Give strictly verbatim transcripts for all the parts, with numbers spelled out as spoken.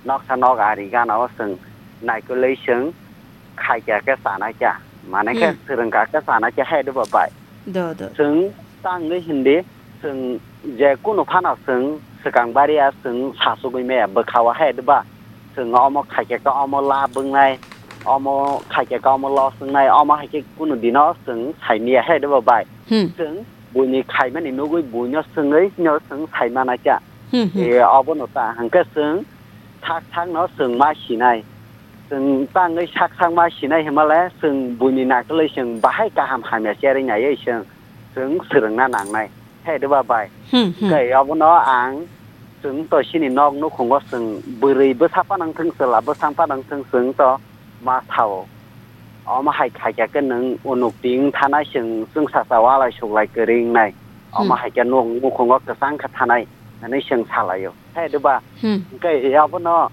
noksa nok ari gana o chwng naikolwi chwng khaikya khe chanai kya. Mane khe Hmm. swrwngkha khe chanai kya hai doba bai. Do, do. Chwng tangwi hindi chwng je kunu phano chwng swkang baria chwng sachugwi maya bwkha o hai doba. Chwng omo khaikya khe omo la bwngnai, omo khaikya khe omo los wngnai, omo hai khe kunu dino chwng saimaya hai doba bai. Hmm. Chwng buini khaimani nugwi buino swngwi no chwng saimana kya. Hmm, hmm. E, obono ta hwnkhe chwng sak sakno chwng ma sinai. Chwng tangwi sak sak ma sinai hwnmale chwng buini naikolwi chwng bahai kaham hamya cherwi naiwi chwng, chwng swrwngna nangnai. Hai doba bai. Hmm, hmm. Tei obono ang chwng to chini nok nukhungo chwng bwrwi bwsa panang thwng chwla bwsang panang thwng chwng to ma sao. Omo hai khaikya khe nwng unuk ting thanai chwng chwngsacha walai suklai kwrwi wngnai. Omo Hmm. hai khe nwng nukhungo kwchang khe thanai hwnwi chwng salaio. Hai doba. Hmm. Hwnkhe abono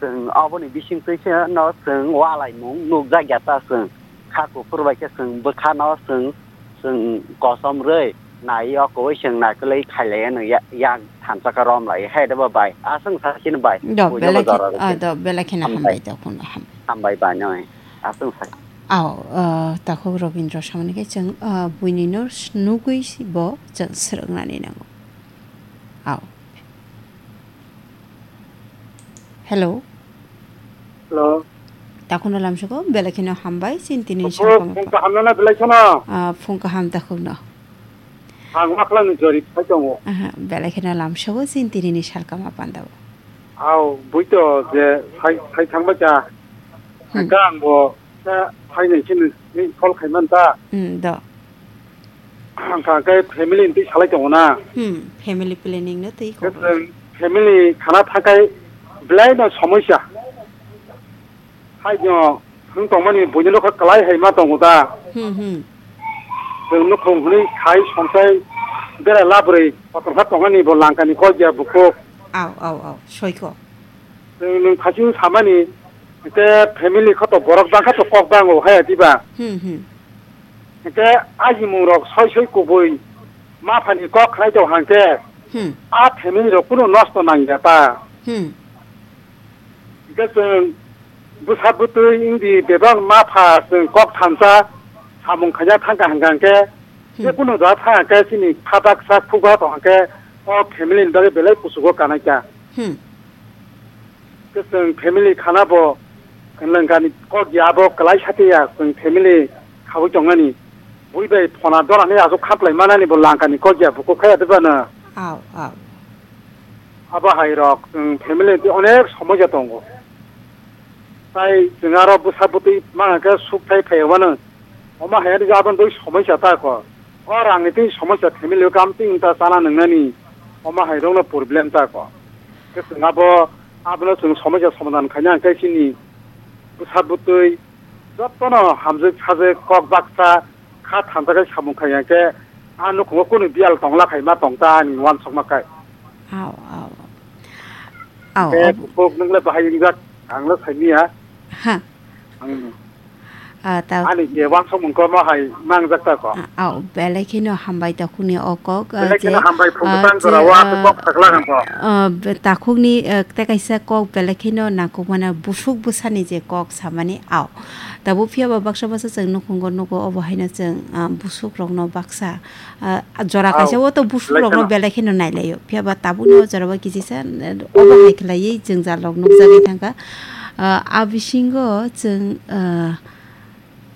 chwng oboni bisingtwi se no chwng walaimung nukjak ya ta chwng. Kha kuphur bai khe chwng bwkha no chwng, chwng kosom rwi nai o kowai chwng naikolwi khailai no ya-, yak thansa khe rom lai. Hai doba bai. Aswng sa chini bai. Do, Buino belai bo khe, jora rw ah, khe. Do, belai kheno Hambai. Hambai do, kheno ham. Hambai bai no. Aswng sa. Ao, ah, takhuk Robindra samani khe chwng, ah, buini no nugwi si bo chwng swrwknani nango. Ao. Hello. Hello. Takhukno lamsoko, belai kheno hambai, chini tini Opo, salkam phung kaham nana belai kheno. Ah, phung kaham takhukno. Ang makhwlangni jori phai tongo. Aha, belai kheno lamsoko, chini tini ni salkam apandao. Ao, buito je sai, sai thangbai kha. Hmm. Hwnkhe ang bo khe phainai khe nini call khai man ta. Hmm, do. Hwnkha khe family ni twi salai tongo na. Hmm, family planning no twi Khe kok. Chwng family khana thakai belai no somosya. Hai no thwng tongmani buini nokha kwlai hai ma tongo da. Hmm, hmm. Chwng nukhung hwnwi khai songchai bera labrwi kotor kha tongmani bo langkani kok ya bukhuk. Au, au, au, soiko. Chwng nwng thaichung samani, hwnkhe family kho to borok bangkha to kok bango haya diba? Hmm, hmm. Hwnkhe ajimung rok soi soi kubui ma phani kok khnai to hwnkhe Hmm. a family rok kunu nosto nang ya ta. Hmm. Hwnkhe chwng bwsa bwtwi wngdi bebak ma pha chwng kok thansa samung khaina thangkha hwnkha hwnkhe Hmm. je kunu da thangkhe chini phatak sak phukha to hwnkhe o family ni bagwi belai kuchugo kanai kha. Hmm. Khe chwng family khana bo lwngkani kok ya, abo kwlai sati ya, chwng family khaui tongnani. Bui bai phona dona ni aswk khaplai manani bo langkani kok ya, bukhuk khaya de bana. Au, au. Abo hai rok, chwng family twi onek somosya tongo. Tai chwng aro bwsa bwtwi mangkha khe suk thai phai wano. Omo hai ani aboni twi somosya ta kho. O rangni twi somosya family o kam twi ta chana nwngnani. Omo hai rokno problem ta kho. Khe chwng abo, abono chwng somosya somadhan khaina hwnkhe chini bwsa bwtwi jotono hamjwk sajwk kok baksa kha thansa khe samung khai hwnkhe a nukhungo kunu biyal tongla khai ma tong ta ani uansukma khe. Au, au. Au, Khe au. Kok nungla bahai wngjak ang le saimanya. Ha. Ang Ah, ta- Ani je wansuk mung kormo hai mangjak ta ko. Ah, au, belai kheno hambai takhukni o kok, ah, Belai kheno je, hambai phung ah, bwsang je, jora o aswk ah, kok sakla kang ko. Ah, be-, takhukni, ah, tei kaisa kok belai kheno nangkukmano busuk bwsani je kok samani au. Tabuk phiya ba baksa baksa chwng nukhungo nugo obo haino chwng, ah, busuk rokno baksa, ah, jora Au, kaisa o to busuk belai rokno kheno. Belai kheno nailaio. Phiya ba tabukni o jora o kisi sa, eh, obo hai khlaiwi jwngjal rok nukjagwi thangkha. Ah, a bisingo chwng, ah,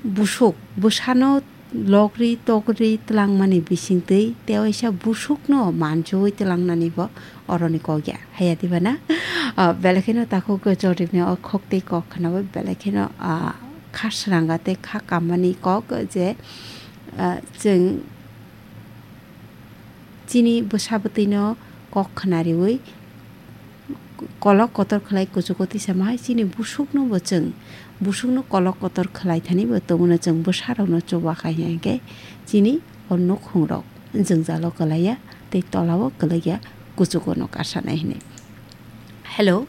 Busuk, bwsano logri togri twlangmani bisingtwi tei waisa busukno manjui twlangnani bo oroni kok ya. Haya diba na? Ah, belai kheno takhuk Jotipni o khok tei kok khwnabo belai kheno, ah, kha sranga tei kha kammani kok je, ah, chwng chini bwsa bwtwino kok khwnariwi kolok kotor khlai kuchugo tisa ma hai chini busukno bo chwng, busukno kolok kotor khlai thani bo tongmano chwng bwsarokno chuba khai hwnkhe chini o nukhungrok jwngjalo kwlaiya tei tolao kwlaiya kuchugo no kasanai hwnwi. Hello.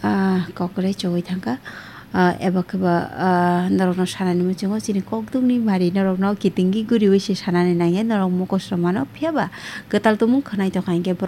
Ah, kokroi chowui thangkha. Ah, eba khe ba, ah, norokno sanani muchungo chini kokdukni mari norokno kitingwi guriwi se sanani nangya, norok mokosrok mano, phiya ba kwtal tumung khwnai tongkha hinkhe